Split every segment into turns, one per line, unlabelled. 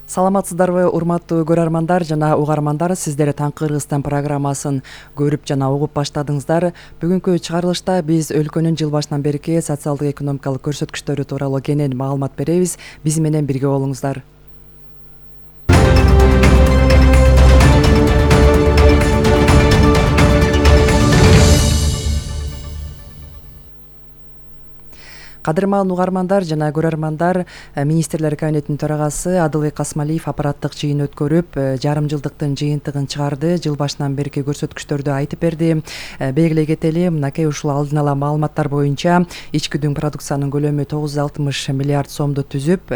Саламатсыздарбы, урматтуу көрөрмандар жана угармандар, сиздер Таңкы Кыргызстан программасын көрүп жана угуп баштадыңыздар. Бүгүнкү чыгарылышта биз өлкөнүн жыл башынан берки социалдык экономикалык көрсөткүчтөрү тууралуу кенен маалымат беребиз. Биз менен бирге болуңуздар. Кадырман угармандар жана көрөрмандар, министрлер кабинетинин төрагасы Адылбек Касмалиев аппараттык жыйын өткөрүп, жарым жылдыктын жыйынтыгын чыгарды, жыл башынан берки көрсөткүчтөрдү айтып берди. Белгилей кетели, мынакей ушул алдын ала маалыматтар боюнча ички дүң продукциянын көлөмү 960 миллиард сомду түзүп,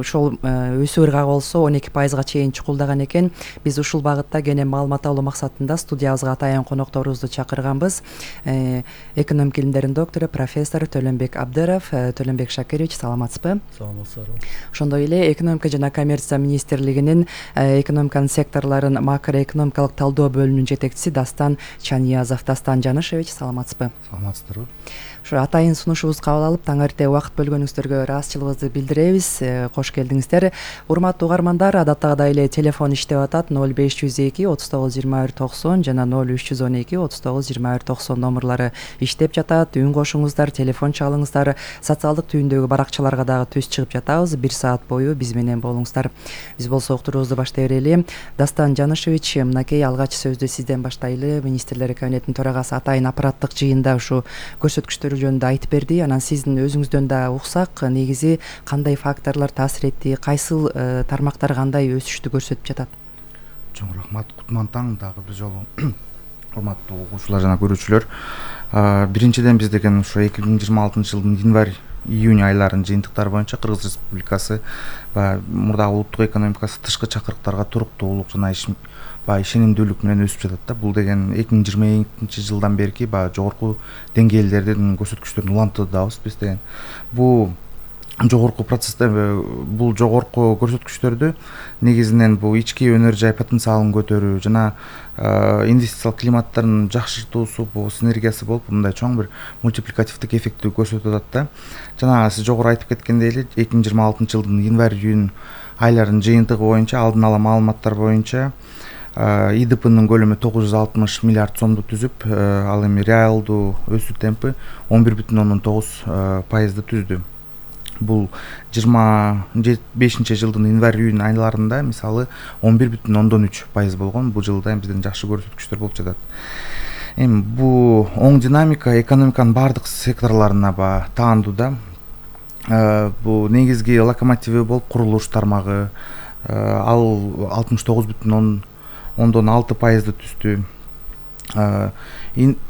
ошол өсүү ыргагы болсо 12%га чейин чукулдаган экен. Биз ушул багытта кенен маалымат алуу максатында студиябызга атайын конокторубузду чакырганбыз. Экономика илимдеринин доктору, профессор Төлөнбек Абдыров. Төлөнбек Шакирович, саламатсызбы?
Саламатсыздарбы.
Ошондой эле экономика жана коммерция министрлигинин экономиканын секторлорун макроэкономикалык талдоо бөлүмүнүн жетекчиси Дастан Чаниязов. Дастан Жанышевич, саламатсызбы?
Саламатсыздарбы.
Ушу атайын сунушубузду кабыл алып, таң эрте убакыт бөлгөнүңүздөргө ыраазычылыгыбызды билдиребиз. Кош келдиңиздер. Урматтуу угармандар, адаттагыдай эле телефон иштеп атат. 0502 39 21 90 жана 0312 39 21 90 номурлары иштеп жатат. Үн кошуңуздар, телефон чалыңыздар. Социалдык түйүндөгү баракчаларга дагы түз чыгып жатабыз. 1 саат бою биз менен болуңуздар. Биз болсо уктуруубузду баштай берели. Дастан Жанышевич, мынакей алгач сөздү сизден баштайлы. Министрлер кабинетинин төрагасы атайын аппараттык жыйында ушу көрсөткүчтөр жөнүндө айтып берди. Анан сиздин өзүңүздөн да уксак, негизи кандай факторлор таасир этти, кайсыл тармактар кандай өсүштү көрсөтүп жатат?
Чоң рахмат, кутман таң дагы бир жолу. Урматтуу угуучулар жана көрүүчүлөр, биринчиден биз деген ушу 2026 жылдын январь-июнь айларынын жыйынтыктары боюнча Кыргыз Республикасы мурдагы улуттук экономикасы тышкы чакырыктарга туруктуулук жана ишенимдүүлүк менен өсүп жатат да. Бул деген 2022 жылдан берки жогорку деңгээлдердин көрсөткүчтөрүн улантуудабыз биз деген. Бул жогорку процессте, бул жогорку көрсөткүчтөрдү негизинен бул ички өнөр жай потенциалын көтөрүү жана инвестициялык климаттын жакшыртуусу, бул синергиясы болуп, мындай чоң бир мультипликативдик эффектти көрсөтүп атат да. Жана сиз жогору айтып кеткендей эле 2026 жылдын январь-июнь айларынын жыйынтыгы боюнча, алдын ала маалыматтар боюнча ИДПнын көлөмү 960 миллиард сомду түзүп, ал эми реалдуу өсүү темпи 11,9% түздү. Бул 25 жылдын январь-июнь айларында мисалы 11,3% болгон. Бул жылда бизден жакшы көрсөткүчтөр болуп жатат. Эми бул оң динамика экономиканын бардык секторлоруна таандуу да. Бул негизги локомотиви болуп курулуш тармагы, ал 69,6% түздү.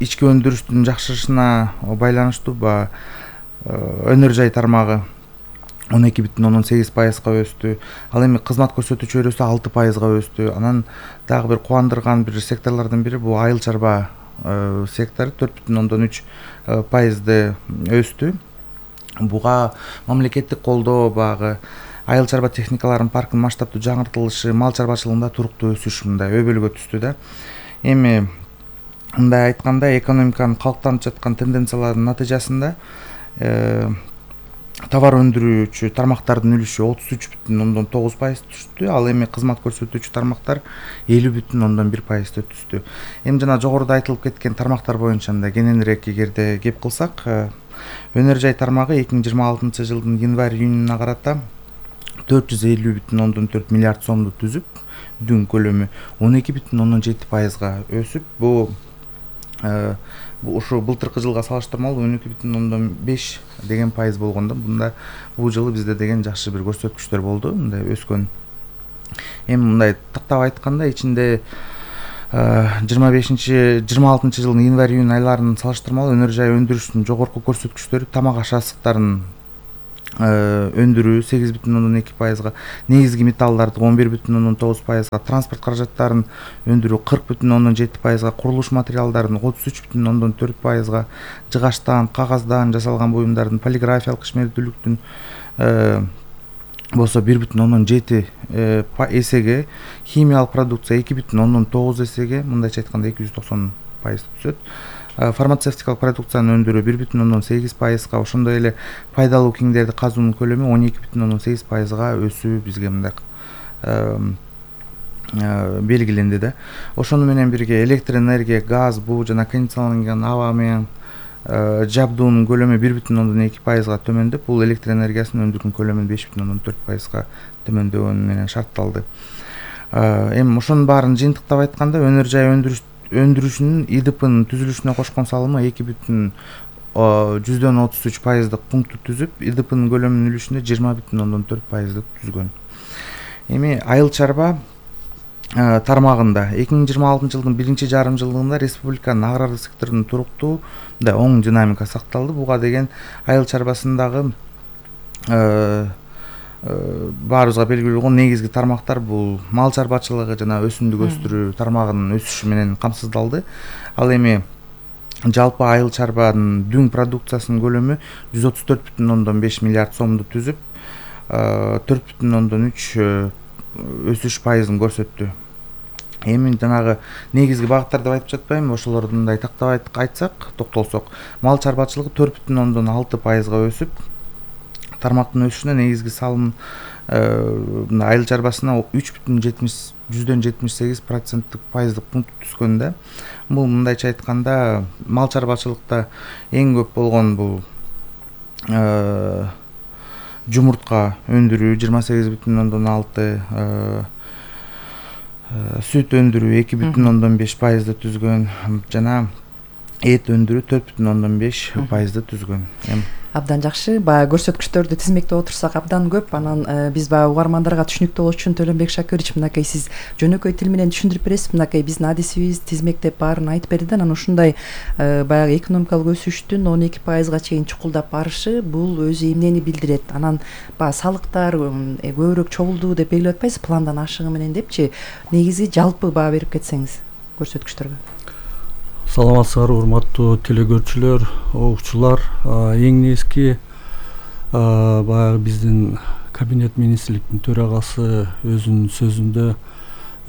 Ички өндүрүштүн жакшырышына байланыштуу өнөр жай тармагы 12,8%га өстү. Ал эми кызмат көрсөтүү чөйрөсү 6%га өстү. Анан дагы бир кубандырган бир секторлордун бири бул айыл чарба сектору 4,3% өстү. Буга мамлекеттик колдоо айыл чарба техникаларынын паркынын масштабтуу жаңыртылышы, мал чарбачылыгында туруктуу өсүш мындай өбөлгө түштү да. Эми мындай айтканда, экономиканын калыптанып жаткан тенденцияларынын натыйжасында товар өндүрүүчү тармактардын үлүшү 33,9% түштү. Ал эми кызмат көрсөтүүчү тармактар 50,1% түштү. Эми жана жогоруда айтылып кеткен тармактар боюнча кененирээк эгерде кеп кылсак, өнөр жай тармагы 2026 жылдын январь-июнуна карата 450,4 миллиард сомду түзүп, дүң көлөмү 12,7%га өсүп, бул ушу былтыркы жылга салыштырмалуу 12,5 деген пайыз болгон да. Бул жылы бизде деген жакшы бир көрсөткүчтөр болду, мындай өскөн. Эми мындай тактап айтканда, ичинде 26 жылдын январь-июнь айларынын салыштырмалуу өнөр жай өндүрүштүн жогорку көрсөткүчтөрү тамак аш асыктарын өндүрүү 8,2%га, негизги металлдарды 11,9%га, транспорт каражаттарын өндүрүү 40,7%га, курулуш материалдарын 33,4%га, жыгачтан, кагаздан жасалган буюмдардын полиграфиялык ишмердүүлүктүн болсо 1,7 эсеге, химиялык продукция 2,9 эсеге, мындайча айтканда 290% түзөт. фармацевтикалык продукцияны өндүрүү 1,8%, ошондой эле пайдалуу кеңдерди казуунун көлөмү 12,8%га өсүү бизге мындай белгиленди да. Ошону менен бирге электр энергия, газ, буу жана кондиционерланган аба менен жабдуунун көлөмү 1,2%га төмөндөп, бул электр энергиясынын өндүргөн көлөмүнүн 5,4%га төмөндөөнү менен шартталды. Эми ошонун баарын жыйынтыктап айтканда, өнөр жай өндүрүшүнүн ИДПнын түзүлүшүнө кошкон салымы 2,33% пункту түзүп, ИДПнын көлөмүнүн үлүшүндө 20,4% түзгөн. Эми айыл чарба тармагында 2026 жылдын биринчи жарым жылдыгында республиканын агрардык секторунун туруктуу да оң динамика сакталды. Буга деген айыл чарбасындагы баарыбызга белгилүү болгон негизги тармактар бул мал чарбачылыгы жана өсүмдүк өстүрүү тармагынын өсүшү менен камсыздалды. Ал эми жалпы айыл чарбанын дүң продукциясынын көлөмү 134,5 миллиард сомду түзүп, 4,3 өсүш пайызын көрсөттү. Эми жанагы негизги багыттар деп айтып жатпайм, ошолордун тактап айтсак, токтолсок, мал чарбачылыгы 4,6%га өсүп, тармактын өсүшүнө негизги салым айыл чарбасына 3,78% пункт түзгөн да. Бул мындайча айтканда, мал чарбачылыкта эң көп болгон бул жумуртка өндүрүү 28,6%, сүт өндүрүү 2,5% түзгөн жана эт өндүрүү 4,5% түзгөн.
Абдан жакшы. Баягы көрсөткүчтөрдү тизмектеп отурсак абдан көп. Анан биз баягы угармандарга түшүнүктүү болуш үчүн Төлөнбек Шакирович, мынакей сиз жөнөкөй тил менен түшүндүрүп бересиз. Мынакей биздин адисибиз тизмектеп баарын айтып берди. Анан ушундай баягы экономикалык өсүштүн 12%га чейин чукулдап барышы бул өзү эмнени билдирет? Анан баягы салыктар көбүрөөк чогулду деп белгилеп атпайсыз, пландан ашыгы менен депчи. Негизи жалпы баа берип кетсеңиз көрсөткүчтөргө.
Саламатсыздарбы, урматтуу телекөрүүчүлөр, угуучулар. Эң негизги баягы биздин кабинет министрликтин төрагасы өзүнүн сөзүндө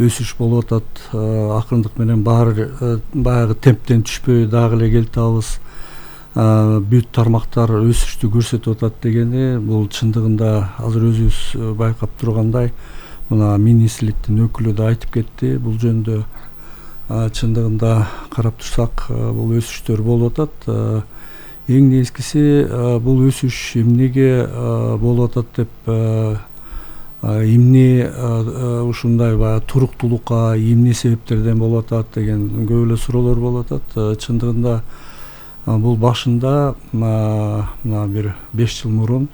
өсүш болуп атат. Акырындык менен баары баягы темптен түшпөй дагы эле келип атабыз. Бүт тармактар өсүштү көрсөтүп атат дегени, бул чындыгында азыр өзүбүз байкап тургандай, мына министрликтин өкүлү да айтып кетти. Бул жөнүндө чындыгында карап турсак, бул өсүштөр болуп атат. Эң негизгиси бул өсүш эмнеге болуп атат деп, эмне ушундай баягы туруктуулукка эмне себептерден болуп атат деген көп эле суроолор болуп атат. Чындыгында бул башында мына бир 5 жыл мурун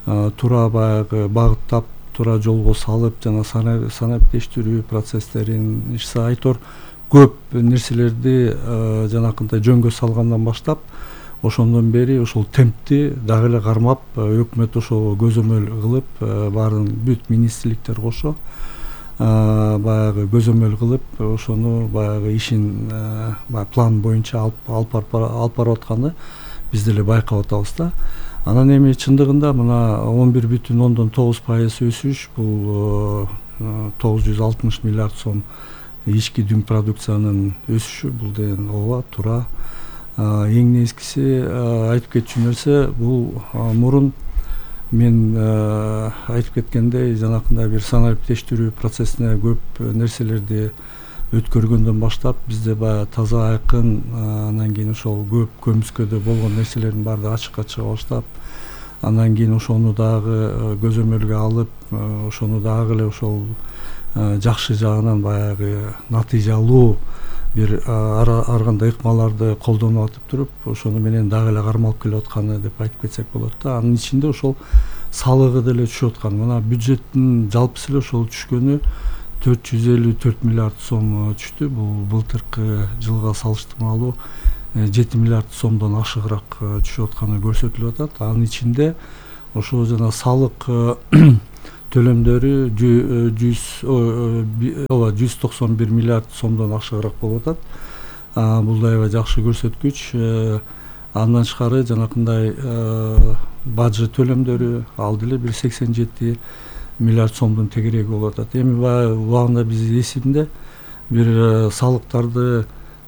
туура баягы багыттап, туура жолго салып жана санариптештирүү процесстерин ишсе айтор көп нерселерди жанакындай жөнгө салгандан баштап, ошондон бери ошол темпти дагы эле кармап, өкмөт ошого көзөмөл кылып, баарын бүт министрликтер кошо баягы көзөмөл кылып, ошону баягы ишин план боюнча алып барып атканы биз деле байкап атабыз да. Анан эми чындыгында мына 11,9% өсүш, бул 960 миллиард сом ички дүң продукциянын өсүшү, бул деген ооба туура. Эң негизгиси айтып кетчү нерсе, бул мурун мен айтып кеткендей, жанакындай бир санариптештирүү процессине көп нерселерди өткөргөндөн баштап, бизде баягы таза айкын, анан кийин ошол көп көмүскөдө болгон нерселердин баары ачыкка чыга баштап, андан кийин ошону дагы көзөмөлгө алып, ошону дагы эле ошол жакшы жагынан баягы натыйжалуу бир ар кандай ыкмаларды колдонуп атып туруп, ошону менен дагы эле кармалып келип атканы деп айтып кетсек болот да. Анын ичинде ошол салыгы деле түшүп аткан. Мына бюджеттин жалпысы эле ошол түшкөнү 454 миллиард сом түштү. Бул былтыркы жылга салыштырмалуу 7 миллиард сомдон ашыгыраак түшүп атканы көрсөтүлүп атат. Анын ичинде ошо жана салык төлөмдөрү 191 миллиард сомдон ашыгыраак болуп атат. Бул да аябай жакшы көрсөткүч. Андан тышкары жанакындай бажы төлөмдөрү ал деле бир 87 миллиард сомдун тегереги болуп атат. Эми убагында биз эсибинде бир салыктарды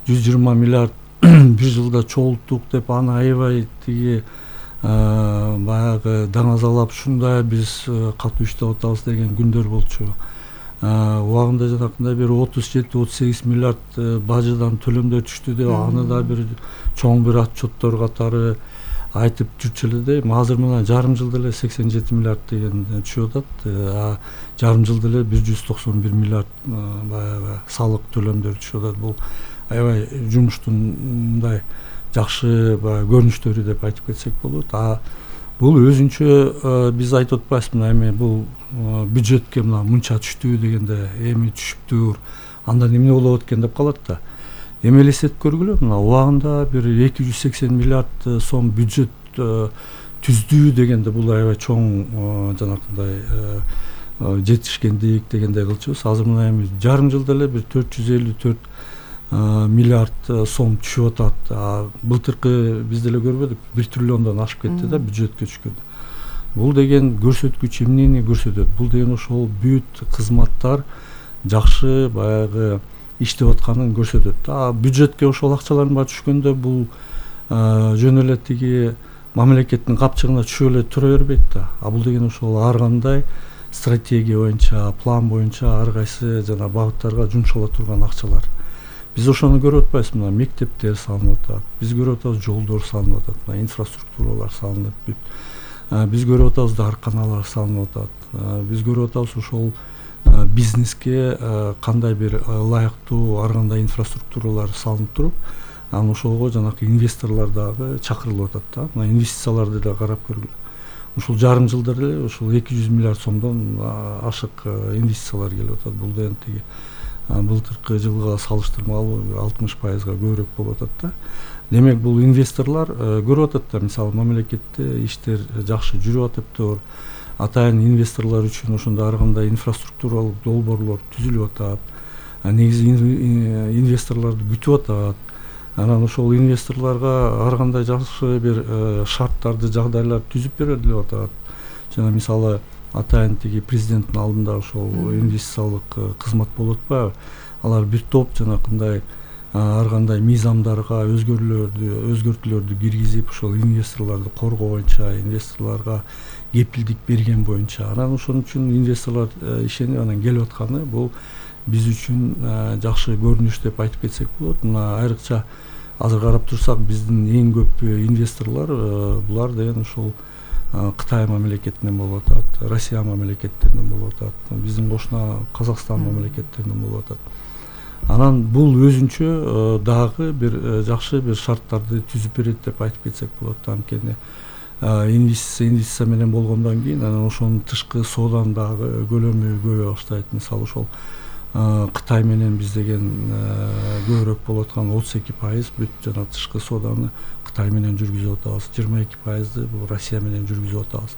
120 миллиард бир жылда чогулттук деп аны аябай тиги баягы даңазалап ушундай биз катуу иштеп атабыз деген күндөр болчу. Убагында жанакындай бир 37-38 миллиард бажыдан төлөмдөр түштү деп аны да бир чоң бир отчеттор катары айтып жүрчү эле да. Азыр мына жарым жылда эле 87 миллиард деген түшүп атат. Жарым жылда эле 191 миллиард баягы салык төлөмдөр түшүп атат. Бул аябай жумуштун мындай жакшы баягы көрүнүштөрү деп айтып кетсек болот. Бул өзүнчө биз айтып атпайбызбы, эми бул бюджетке мына мынча түштү дегенде эми түшүптүр, андан эмне болот экен деп калат да. Эми элестетип көргүлө, мына убагында бир 280 миллиард сом бюджет түздү дегенде бул аябай чоң жанакындай жетишкендик дегендей кылчубуз. Азыр мына эми жарым жылда эле бир 454 миллиард сом түшүп атат. Былтыркы биз деле көрбөдүк, 1 триллиондон ашып кетти да бюджетке түшкөн. Бул деген көрсөткүч эмнени көрсөтөт? Бул деген ошол бүт кызматтар жакшы баягы иштеп атканын көрсөтөт. Бюджетке ошол акчалардын баары түшкөндө бул жөн эле тиги мамлекеттин капчыгына түшүп эле тура бербейт да. Бул деген ошол ар кандай стратегия боюнча, план боюнча ар кайсы жана багыттарга жумшала турган акчалар. Биз ошону көрүп атпайбызбы? Мына мектептер салынып атат, биз көрүп атабыз жолдор салынып атат, мына инфраструктуралар салынып бүт. Биз көрүп атабыз дарканалар салынып атат. Биз көрүп атабыз ошол бизнеске кандай бир ылайыктуу ар кандай инфраструктуралар салынып туруп, анан ошого жанакы инвесторлор дагы чакырылып атат да. Мына инвестицияларды да карап көргүлө. Ушул жарым жылда эле ушул 200 миллиард сомдон ашык инвестициялар келип атат. Бул деген тиги былтыркы жылга салыштырмалуу 60% көбүрөөк болуп атат да. Демек бул инвесторлор көрүп атат да, мисалы мамлекетте иштер жакшы жүрүп атыптыр. Атайын инвесторлор үчүн ошондой ар кандай инфраструктуралык долбоорлор түзүлүп атат. Негизи инвесторлорду күтүп атат. Анан ошол инвесторлорго ар кандай жакшы бир шарттарды, жагдайларды түзүп берилип атат. Жана мисалы атайын тиги президенттин алдында ошол инвестициялык кызмат болуп атпайбы? Алар бир топ жанакындай ар кандай мыйзамдарга өзгөртүүлөрдү киргизип, ошол инвесторлорду коргоо боюнча, инвесторлорго кепилдик берген боюнча. Анан ошон үчүн инвесторлор ишенип анан келип атканы бул биз үчүн жакшы көрүнүш деп айтып кетсек болот. Мына айрыкча азыр карап турсак, биздин эң көп инвесторлор булар деген ошол Кытай мамлекетинен болуп атат, Россия мамлекеттеринен болуп атат, биздин кошуна Казакстан мамлекеттеринен болуп атат. Анан бул өзүнчө дагы бир жакшы бир шарттарды түзүп берет деп айтып кетсек болот. Анткени инвестиция менен болгондон кийин анан ошонун тышкы сооданын дагы көлөмү көбөйө баштайт. Мисалы ошол Кытай менен биз деген көбүрөөк болуп аткан 32% бүт жана тышкы сооданы Кытай менен жүргүзүп атабыз, 22%ды бул Россия менен жүргүзүп атабыз.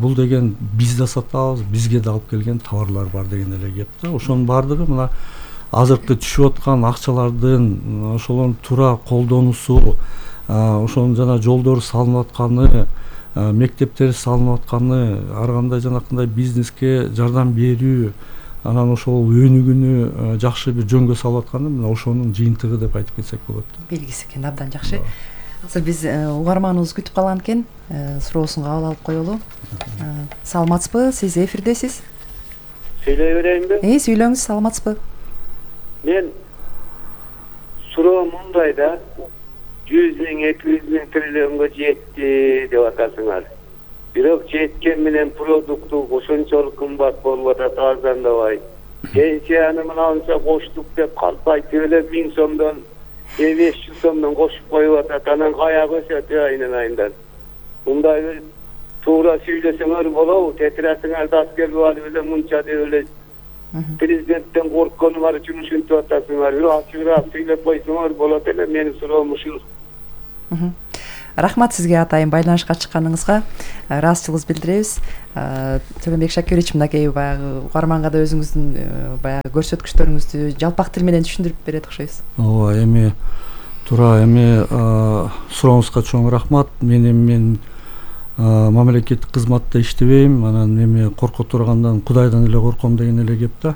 Бул деген биз да сатабыз, бизге да алып келген товарлар бар деген эле кеп да. Ошонун баардыгы мына азыркы түшүп аткан акчалардын ошолордун туура колдонуусу, ошонун жана жолдор салынып атканы, мектептер салынып атканы, ар кандай жанакындай бизнеске жардам берүү, анан ошол өнүгүүнү жакшы бир жөнгө салып атканы мына ошонун жыйынтыгы деп айтып кетсек болот.
Белгиси экен, абдан жакшы. Азыр биз угарманыбыз күтүп калган экен, суроосун кабыл алып коелу. Саламатсызбы? Сиз эфирдесиз.
Сүйлөй берейинби?
Сүйлөңүз, саламатсызбы?
Мен суроо мындай да, 100 миң, 200 миң триллионго жетти деп атасыңар. Бирок жеткен менен продукту ошончолук кымбат болуп атат, арзандабай. Пенсияны мынанча коштук деп калпайтып эле 1000 сомдон, 500 сомдон кошуп коюп атат. Анан каяга өсөт айынан. Мындай бир туура сүйлөсөңөр болобу? Тетирасыңарды аскерге алып эле мынча деп эле президенттен корккону бар үчүн ушинтип атасыңар. Бир ачыгыраак сүйлөп койсоңор болот эле. Менин суроом ушул.
Рахмат сизге атайын байланышка чыкканыңызга. Ыраазычылыгыбызды билдиребиз. Төлөнбек Шакирович, мынакей баягы угарманга да өзүңүздүн баягы көрсөткүчтөрүңүздү жалпак тил менен түшүндүрүп берет окшойсуз.
Ооба, эми туура эми сурооңузга чоң рахмат. Мен мамлекеттик кызматта иштебейм, анан эми корко тургандан Кудайдан эле корком деген эле кеп да.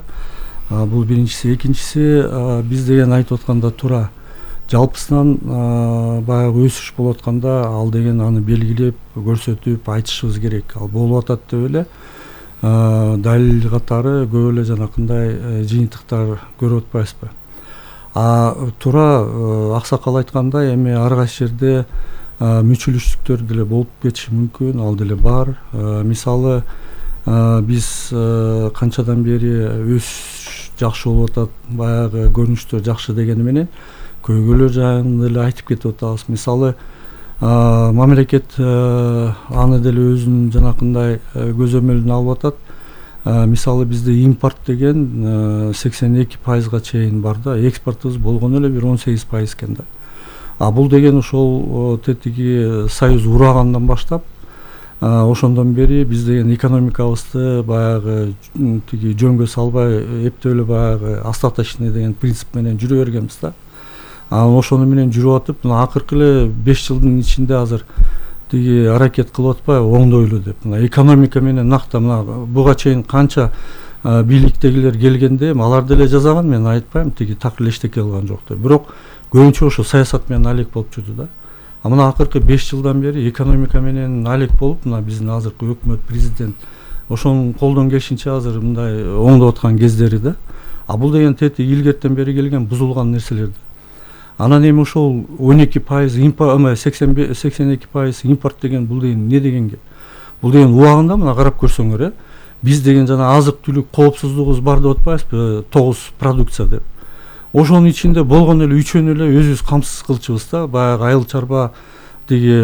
Бул биринчиси. Экинчиси, биз деген айтып атканда туура жалпысынан баягы өсүш болуп атканда ал деген аны белгилеп көрсөтүп айтышыбыз керек. Ал болуп атат деп эле далил катары көп эле жанакындай жыйынтыктар көрүп атпайбызбы? Туура аксакал айткандай, эми ар кайсы жерде мүчүлүштүктөр деле болуп кетиши мүмкүн, ал деле бар. Мисалы биз канчадан бери өсүш жакшы болуп атат, баягы көрүнүштөр жакшы дегени менен көйгөйлөр жайында деле айтып кетип атабыз. Мисалы мамлекет аны деле өзүнүн жанакындай көзөмөлүнө алып атат. Мисалы бизде импорт деген 82%га чейин бар да, экспортубуз болгону эле бир 18% экен да. Бул деген ошол тетиги союз урагандан баштап ошондон бери биз деген экономикабызды баягы тиги жөнгө салбай эптеп эле баягы остаточный деген принцип менен жүрө бергенбиз да. Ошону менен жүрүп атып, мына акыркы эле 5 жылдын ичинде азыр тиги аракет кылып атпайбы оңдойлу деп. Мына экономика менен накта мына буга чейин канча бийликтегилер келгенде алар деле жасаган, мен айтпайм тиги так эле эчтеке кылган жок деп. Бирок көбүнчө ошо саясат менен алек болуп жүрдү да. Мына акыркы 5 жылдан бери экономика менен алек болуп, мына биздин азыркы өкмөт, президент ошонун колдон келишинче азыр мындай оңдоп аткан кездери да. Бул деген тети илгертен бери келген бузулган нерселер. Анан эми ошол 12% импорт, 82% импорт деген бул деген эмне деген геп? Бул деген убагында мына карап көрсөңөр, биз деген жана азык-түлүк коопсуздугубуз бар деп атпайбызбы, 9 продукция деп. Ошонун ичинде болгон эле үчөөнү эле өзүбүз камсыз кылчубуз да. Баягы айыл чарба тиги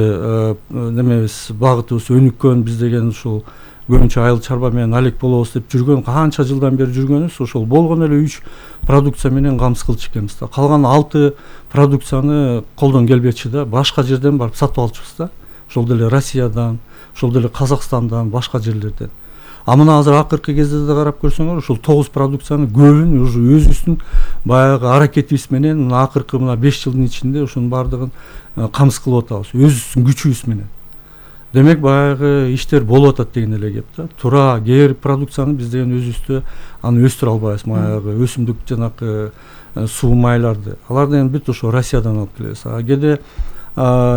немебиз, багытыбыз өнүккөн, биз деген ушул көбүнчө айыл чарба менен алек болобуз деп жүргөн, канча жылдан бери жүргөнүбүз, ошол болгон эле 3 продукция менен камсыз кылчу экенбиз да. Калган 6 продукцияны колдон келбечи да, башка жерден барып сатып алчубуз да. Ошол деле Россиядан, ошол деле Казакстандан, башка жерлерден. Мына азыр акыркы кезде да карап көрсөңөр, ушул 9 продукцияны көбүн уже өзүбүздүн баягы аракетибиз менен мына акыркы мына 5 жылдын ичинде ошонун баардыгын камсыз кылып атабыз, өзүбүздүн күчүбүз менен. Демек баягы иштер болуп атат деген эле кеп да. Туура кээ бир продукцияны биз деген өзүбүздө аны өстүрө албайбыз, баягы өсүмдүк жанакы суу майларды. Аларды эми бүт ошо Россиядан алып келебиз. Кээде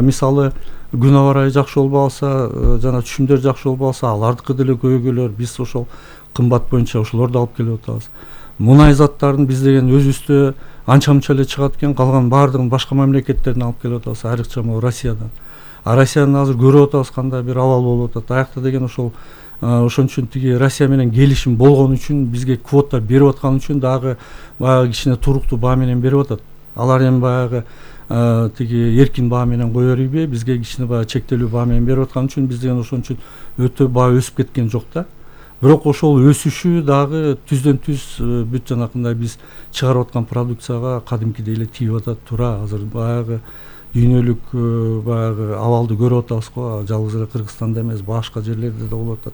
мисалы күн абарайы жакшы болбой калса, жана түшүмдөр жакшы болбой калса, алардыкы деле көйгөйлөр, биз ошол кымбат боюнча ошолорду алып келип атабыз. Мунай заттарын биз деген өзүбүздө анча-мынча эле чыгат экен, калган баардыгын башка мамлекеттерден алып келип атабыз, айрыкча могу Россиядан. Россияны азыр көрүп атабыз кандай бир абал болуп атат. Аякта деген ошол ошон үчүн тиги Россия менен келишим болгон үчүн, бизге квота берип аткан үчүн дагы баягы кичине туруктуу баа менен берип атат. Алар эми баягы тиги эркин баа менен кое бербей, бизге кичине баягы чектелүү баа менен берип аткан үчүн биз деген ошон үчүн өтө баа өсүп кеткен жок да. Бирок ошол өсүшү дагы түздөн түз бүт жанакындай биз чыгарып аткан продукцияга кадимкидей эле тийип атат. Туура азыр баягы дүйнөлүк баягы абалды көрүп атабыз го, жалгыз эле Кыргызстанда эмес, башка жерлерде да болуп атат.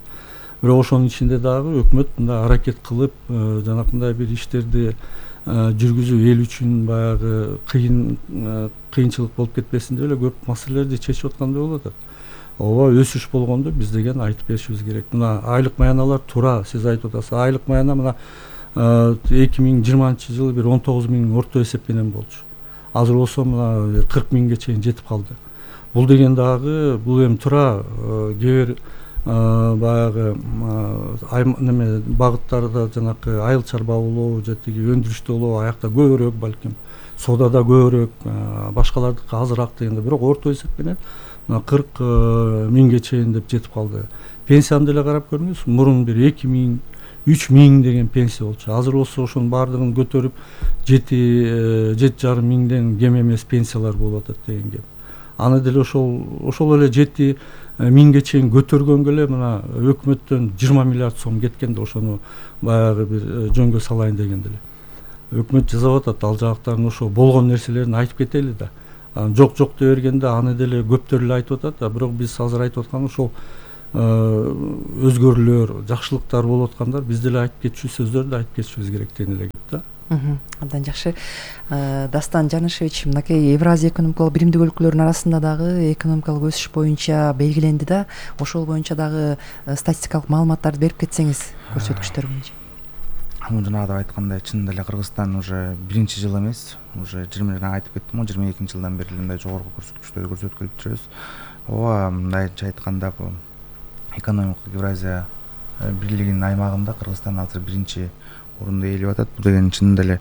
Бирок ошонун ичинде дагы өкмөт мындай аракет кылып, жанакындай бир иштерди жүргүзүү эл үчүн баягы кыйынчылык болуп кетпесин деп эле көп маселелерди чечип аткандай болуп атат. Ооба, өсүш болгондо биз деген айтып беришибиз керек. Мына айлык маяналар туура сиз айтып атасыз. Айлык маяна мына 2020-жылы бир 19 000 орто эсеп менен болчу. Азыр болсо мына 40 000ге чейин жетип калды. Бул деген дагы бул эми туура кээ бир баягы неме багыттарда жанакы айыл чарба болобу же тиги өндүрүштө болобу, аякта көбүрөөк балким, содада көбүрөөк, башкалардыкы азыраак дегенде, бирок орто эсеп менен 40 000ге чейин деп жетип калды. Пенсияны деле карап көрүңүз, мурун бир 2 000 3 000 деген пенсия болчу. Азыр болсо ошонун баардыгын көтөрүп 7,5 миңден кем эмес пенсиялар болуп атат деген геп. Аны деле ошол эле 7 000ге чейин көтөргөнгө эле мына өкмөттөн 20 миллиард сом кеткен да, ошону баягы бир жөнгө салайын дегенде эле. Өкмөт жасап атат, ал жактарын ошо болгон нерселерин айтып кетели да. Жок дей бергенде аны деле көптөр эле айтып атат, бирок биз азыр айтып аткан ошол өзгөрүүлөр, жакшылыктар болуп аткандар, биз деле айтып кетчү сөздөрдү айтып кетишибиз керек деген эле кеп да.
Абдан жакшы. Дастан Жанышевич, мынакей Евразия экономикалык биримдик өлкөлөрүнүн арасында дагы экономикалык өсүш боюнча белгиленди да. Ошол боюнча дагы статистикалык маалыматтарды берип кетсеңиз, көрсөткүчтөр боюнча.
жанагыда айткандай чынында эле Кыргызстан уже биринчи жыл эмес, уже жана айтып кеттим го 22 жылдан бери мындай жогорку көрсөткүчтөрдү көрсөткүлүп жүрөбүз. Ооба, мындайча айтканда бул экономикалык Евразия бирлигинин аймагында Кыргызстан азыр биринчи орунду ээлеп атат. Бул деген чынында эле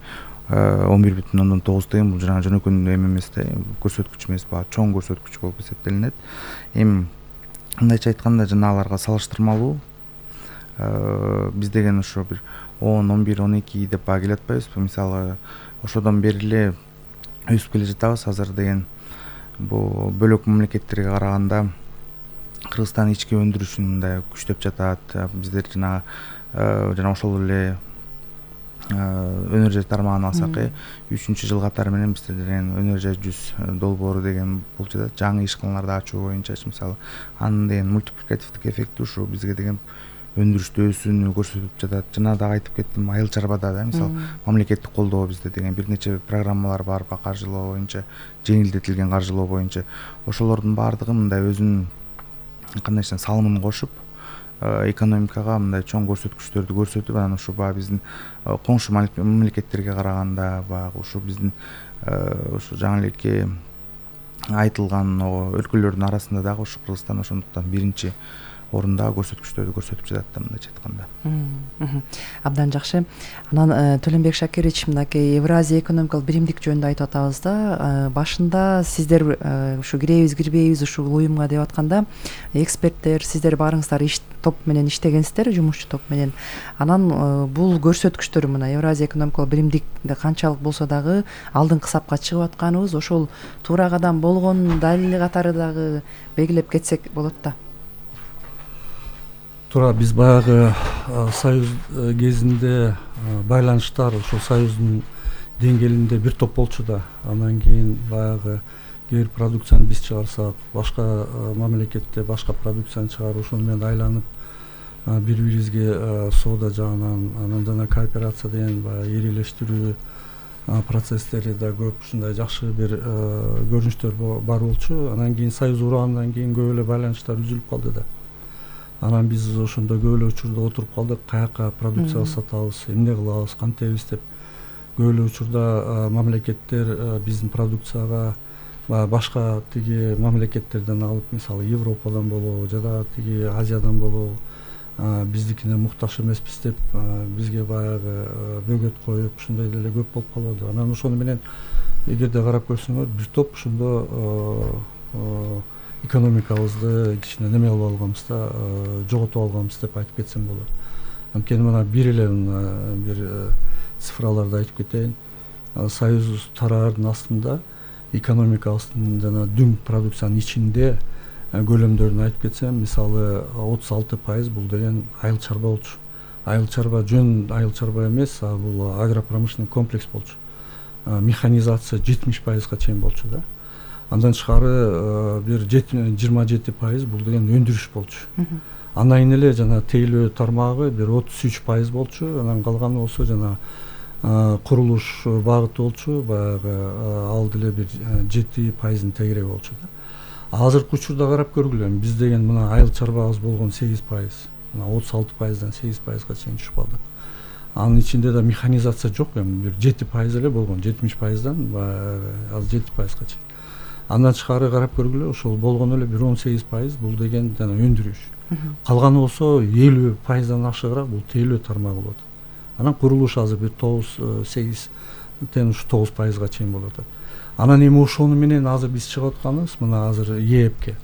11,9 деген бул жана жөнөкөй эме эмес да, көрсөткүч эмес, баа чоң көрсөткүч болуп эсептелинет. Эми мындайча айтканда жанагыларга салыштырмалуу биз деген ошо бир 10, 11, 12 деп баа келе атпайбызбы? Мисалы, ошодон бери эле өсүп келе жатабыз. Азыр деген бул бөлөк мамлекеттерге караганда Кыргызстан ички өндүрүшүн мындай күчтөп жатат. Биздер жана ошол эле өнөр жай тармагын алсак, 3-жыл катары менен бизде деген өнөр жай 100 долбоору деген болуп жатат. Жаңы ишканаларды ачуу боюнча мисалы, анын деген мультипликативдик эффекти ушу бизге деген өндүрүштө өсүүнү көрсөтүп жатат. Жана дагы айтып кеттим, айыл чарбада да мисалы мамлекеттик колдоо бизде деген бир нече программалар бар, каржылоо боюнча, жеңилдетилген каржылоо боюнча. Ошолордун баардыгы мындай өзүнүн кандай десем салымын кошуп, экономикага мындай чоң көрсөткүчтөрдү көрсөтүп, анан ушу баягы биздин коңшу мамлекеттерге караганда баягы ушу биздин ушу жаңы элекке айтылган өлкөлөрдүн арасында дагы ушу Кыргызстан ошондуктан биринчи орундагы көрсөткүчтөрдү көрсөтүп жатат да, мындайча айтканда.
Абдан жакшы. Анан Төлөнбек Шакирович, мынакей Евразия экономикалык биримдик жөнүндө айтып атабыз да. Башында сиздер ушу киребиз, кирбейбиз ушул уюмга деп атканда, эксперттер, сиздер баарыңыздар топ менен иштегенсиздер, жумушчу топ менен. Анан бул көрсөткүчтөр мына Евразия экономикалык биримдикте канчалык болсо дагы алдыңкы сапка чыгып атканыбыз ошол туура кадам болгон далили катары дагы белгилеп кетсек болот да.
Туура, биз баягы союз кезинде байланыштар ошол союздун деңгээлинде бир топ болчу да. Анан кийин баягы кээ бир продукцияны биз чыгарсак, башка мамлекетте башка продукцияны чыгарып, ошону менен айланып бири-бирибизге соода жагынан, анан жана кооперация деген баягы ирилештирүү процесстери да көп ушундай жакшы бир көрүнүштөр бар болчу. Анан кийин союз кургандан кийин көп эле байланыштар үзүлүп калды да. Анан биз ошондо көп эле учурда отуруп калдык, каяка продукция сатабыз, эмне кылабыз, кантебиз деп. Көп эле учурда мамлекеттер биздин продукцияга башка тиги мамлекеттерден алып, мисалы Европадан болобу, жада тиги Азиядан болобу, биздикине муктаж эмеспиз деп бизге баягы бөгөт коюп, ушундай деле көп болуп калды. Анан ошону менен эгерде карап көрсөңөр, бир топ ошондо экономикабызды кичине неме кылып алганбыз да, жоготуп алганбыз деп айтып кетсем болот. Анткени мына бир эле бир цифраларды айтып кетейин. Союз тараардын астында экономикабыздын жана дүң продукциянын ичинде көлөмдөрүн айтып кетсем, мисалы 36% бул деген айыл чарба болчу. Айыл чарба жөн айыл чарба эмес, бул агропромышленный комплекс болчу. Механизация 70%га чейин болчу да. Андан тышкары бир 27% бул деген өндүрүш болчу. Андан кийин эле жана тейлөө тармагы бир 33% болчу. Анан калганы болсо жана курулуш багыты болчу. Баягы ал деле бир 7%-ын тегереги болчу да. Азыркы учурда карап көргүлө, биз деген мына айыл чарбабыз болгон 8%, мына 36%дан 8%га чейин түшүп калды. Анын ичинде да механизация жок, эми бир 7% эле болгон, 70%дан азыр 7%га чейин. Андан тышкары карап көргүлө, ошол болгону эле бир 18% бул деген жана өндүрүш. Калганы болсо 50%дан ашыгыраак бул тейлөө тармагы болот. Анан курулуш азыр бир 8-тен ушу 9%га чейин болуп атат. Анан эми ошону менен азыр биз чыгып атканыбыз мына азыр ЕЭПке.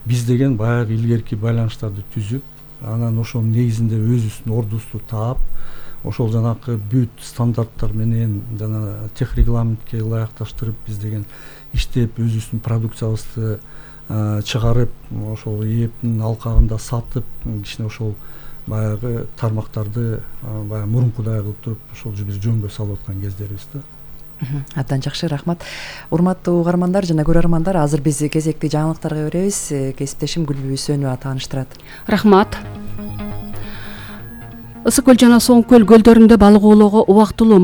Биз деген баягы илгерки байланыштарды түзүп, анан ошонун негизинде өзүбүздүн ордубузду таап, ошол жанакы бүт стандарттар менен жана техрегламентке ылайыкташтырып биз деген иштеп, өзүбүздүн продукциябызды чыгарып, ошол ЕЭПтин алкагында сатып, кичине ошол баягы тармактарды баягы мурункудай кылып туруп, ошол бир жөнгө салып аткан кездерибиз да.
Абдан жакшы, рахмат. Урматтуу угармандар жана көрөрмандар, азыр биз кезекти жаңылыктарга беребиз. Кесиптешим Гүлбү Үсөнова тааныштырат.
Рахмат. Ысык көл жана Соң көл көлдөрүндө балык оолоого убактылуу